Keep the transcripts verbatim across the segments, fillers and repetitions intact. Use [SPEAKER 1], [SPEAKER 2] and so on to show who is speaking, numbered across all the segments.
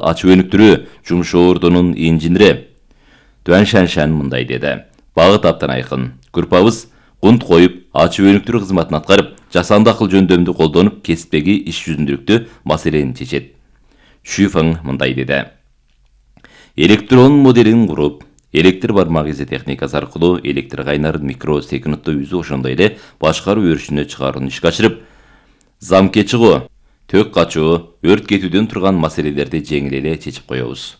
[SPEAKER 1] ачуу өнүктүрүү жумуш ордунун инженери Дуан Шаншан мындай деди. Багыт абдан айкын. Группабыз кунт коюп, ачуу өнүктүрүү кызматын аткарып, жасанды акыл жөндөмдү колдонуп, кесиптеги иш жүзүндүлүктүү маселени чечет. Шуйфeng мындай деди. Электрон моделин куруп, электр бармак изи техникасы аркылуу электр кайнарын микросекундта үзүү, ошондой эле башкаруу өрүшүнө чыгарууну ишке ашырып, замке чыгуу, тök качуу, өрт кетүүдөн турган маселелерди жеңил эле чечип коебуз.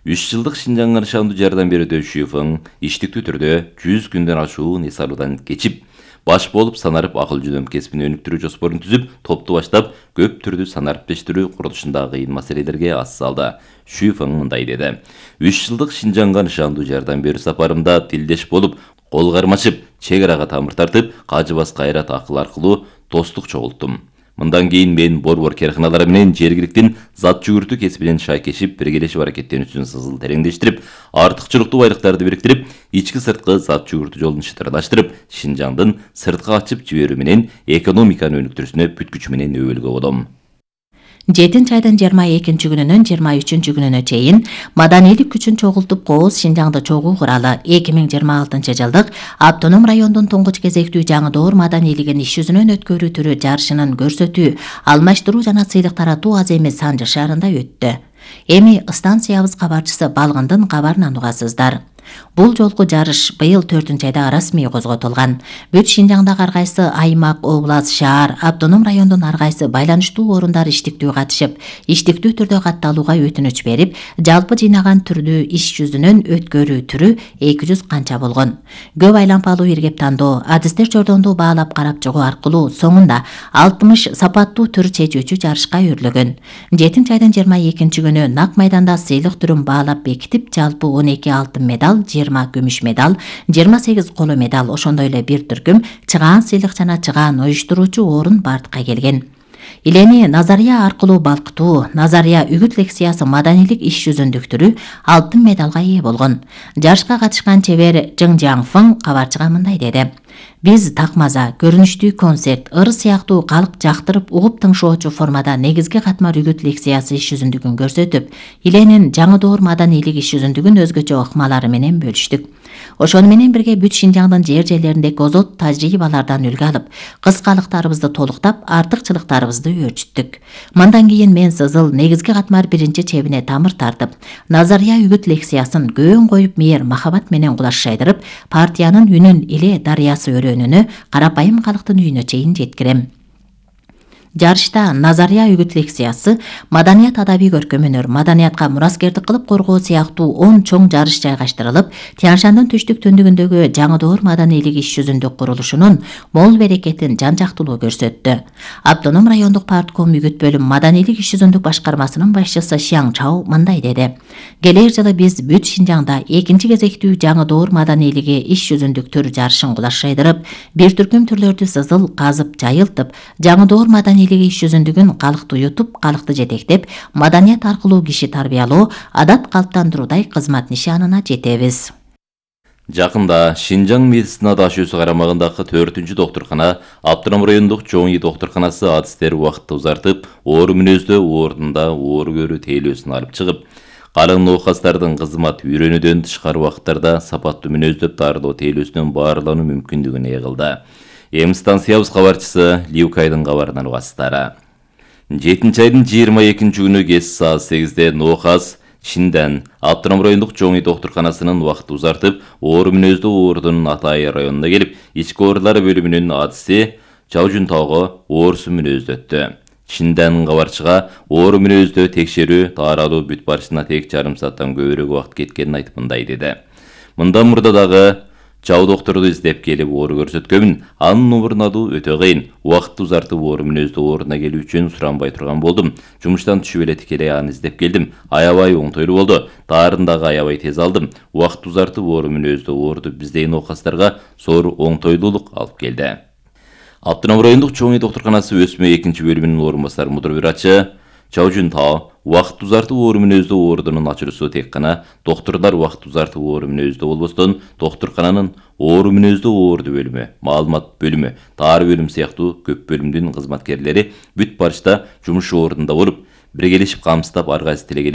[SPEAKER 1] үч жылдык Шинжаңга нышандуу жардам берүүдө Шуйфeng иштиктүү түрдө жүз күндөн ашуун эс алуудан кечип, баш болуп санарып акыл жөнөм кесибин өнүктүрүү жоспорун түзүп, топту баштап, көп түрдүү санариптештирүү курулушундагы кыйын маселелерге ас салды. Шуйфeng мындай деди. үч жылдык Шинжаңга нышандуу жардам берүү сапарымда тилдеш болуп, кол кармашып, чек арага тамыр тартып, кажыбас кайрат акыл аркылуу достук чогулттум. Мындан кийин мен борбор керканалары менен жергиликтин зат жүгүртүү кесибинен шайкешип, биргелешип аракеттенүүсүн сызыл тереңдештирип, артыкчылыктуу байлыктарды бириктирип, ички сырткы зат жүгүртүү жолун шытырлаштырып, Шинжаңдын сыртка ачып жиберүү менен экономиканы өнүктүрүүсүнө бүт күчү менен өбөлгө болом.
[SPEAKER 2] жетинчи айдын жыйырма экинчи күнүнөн жыйырма үчүнчү күнүнө чейин маданийлик күчүн чогултуп, Кооз Шинжаңды чогуу куралы эки миң жыйырма алтынчы жылдык автоном райондун туңгуч кезектүү жаңы доор маданийлигин иш жүзүнөн өткөрүү түрү жарышынын көрсөтүү, алмаштыруу жана сыйлык таратуу аз эмес Санжы шаарында өттү. Эми станциябыз кабарчысы Балгындын кабарын угасыздар. Бул жолку жарыш быйыл төртүнчү айда расмий козготулган. Бүт Шинжаңдагы ар кайсы аймак, област, шаар, автоном райондун ар кайсы байланыштуу орундар иштиктүү катышып, иштиктүү түрдө катталууга өтүнүч берип, жалпы жыйнаган түрдүү иш жүзүнөн өткөрүү түрү эки жүз канча болгон. Көп айлампалуу иргеп тандоо, адистер жордондуу баалап карап чыгуу аркылуу соңунда алтымыш сапаттуу түр чечүүчү жарышка өрлөгөн. жетинчи айдын жыйырма экинчи күнү нак майданда сыйлык түрүн баалап бекитип, жалпы он эки алтын медаль, жыйырма күмүш медаль, жыйырма сегиз коло медаль, ошондой эле бир түркүм чыгаан сыйлык жана чыгаан уюштуруучу орун бартка келген. Илени назария аркылуу балкытуу, назария үгүт лекциясы маданийлик иш жүзүндүктүрү алтын медалга ээ болгон. Жарышка катышкан чебер Жың Жаңфың кабарчыга мындай деди. Биз такмаза, көрүнүштүү концерт, ыр сыяктуу калк жактырып угуп тыңшоочу формада негизги катмар үгүт лекциясы иш жүзүндүгүн көрсөтүп, Иленин жаңы доор маданийлик иш жүзүндүгүн өзгөчө ыкмалары менен бөлүштүк. Ошону менен бирге бүт Шинжаңдын жер жерлериндеги озот тажрыйбалардан үлгү алып, кыскалыктарыбызды толуктап, артыкчылыктарыбызды өөрчүттүк. Мындан кийин мен сызыл негизги катмар биринчи чебине тамыр тартып, назария үгүт лекциясын көөн коюп мээр махабат менен кулаш шайдырып, партиянын үнүн эле дарыясы өрөөнүнө, карапайым калктын үйүнө чейин жеткирем. Жарышта назария үгүт лекциясы, маданият адабий көркөм-өнөр, маданиятка мураскердик кылып коргоо сыяктуу он чоң жарыш жайгаштырылып, Тянь-Шандын түштүк түндүгүндөгү жаңы доор маданийлик иш жүзүндүк курулушунун мол берекетин жан-жактуулуу көрсөттү. Автоном райондук партком үгүт бөлүм маданийлик иш жүзүндүк башкармасынын башчысы Шияң Чао мындай деди. Келер жылы биз бүт Шинжаңда экинчи кезектүү жаңы доор маданийлиги иш жүзүндүк түр жарышын кулаш шайдырып, бир түркүм түрлөрдү сызыл казып, жайылтып, жаңы доор маданийлиги иш жүзүндүгүн калкты ютуп, калкты жетектеп, маданият аркылуу киши тарбиялоо, адат калыптандыруудай кызмат нишанына жетебиз.
[SPEAKER 1] Жакында Шинжаң медицина дашүүсү карамагындагы төртүнчү доктуркана, Автоном райондук чоң үй доктурканасы адистер убакытты узартып, оору мүнөздө ордунда оору көрүү тейлөөсүн алып чыгып, калың ноокастардын кызмат үйрөнүүдөн тышкары убакыттарда сапаттуу мүнөздөп дарылоо тейлөөсүнөн баарлануу мүмкүндүгүн ээ кылды. Эми станциябыз кабарчысы Лиукайдын кабарынан угасыздар. жетинчи айдын жыйырма экинчи күнү кеч саат сегизде ноокас Шинден Автоном райондук чоң үй доктурканасынын убакытты узартып, оору мүнөздүү оорудун Атайы районуна келип, ички оорулар бөлүмүнүн адиси Чаужунтоого оорусу мүнөздөттү. Шинден кабарчыга оору мүнөздө текшерүү, тааралуу бүт барышына тек жарым сааттан көбүрөөк убакыт кеткенин айтып мындай деди. Мындан мурда дагы Чау докторду издеп келип оору көрсөткөмүн, анын номурун алуу өтө кыйын. Убакытты узартып оору мүнөздүү ооруна келүү үчүн суранбай турган болдум. Жумуштан түшүп эле тикелей аны издеп келдим. Аябай оңтойлуу болду. Таарын дагы аябай тез алдым. Убакытты узартып оору мүнөздүү ооруду биздей ноокастарга зор оңтойлуулук алып келди. Автоном райондук чоң үй доктурканасы өсмө экинчи бөлүмүнүн орун басары мудир врачы Чаужунтао убакыт узартып оору мүнөздүү оорудун ачуусу тек гана доктурлар убакыт узартып оору мүнөздүү болбостон, доктуркананын оору мүнөздүү ооруду бөлүмү, маалымат бөлүмү, таар бөлүм сыяктуу көп бөлүмдүн кызматкерлери бүт барышта жумуш ордунда болуп, биргелешип камсыздап ар кайсы тилегелешип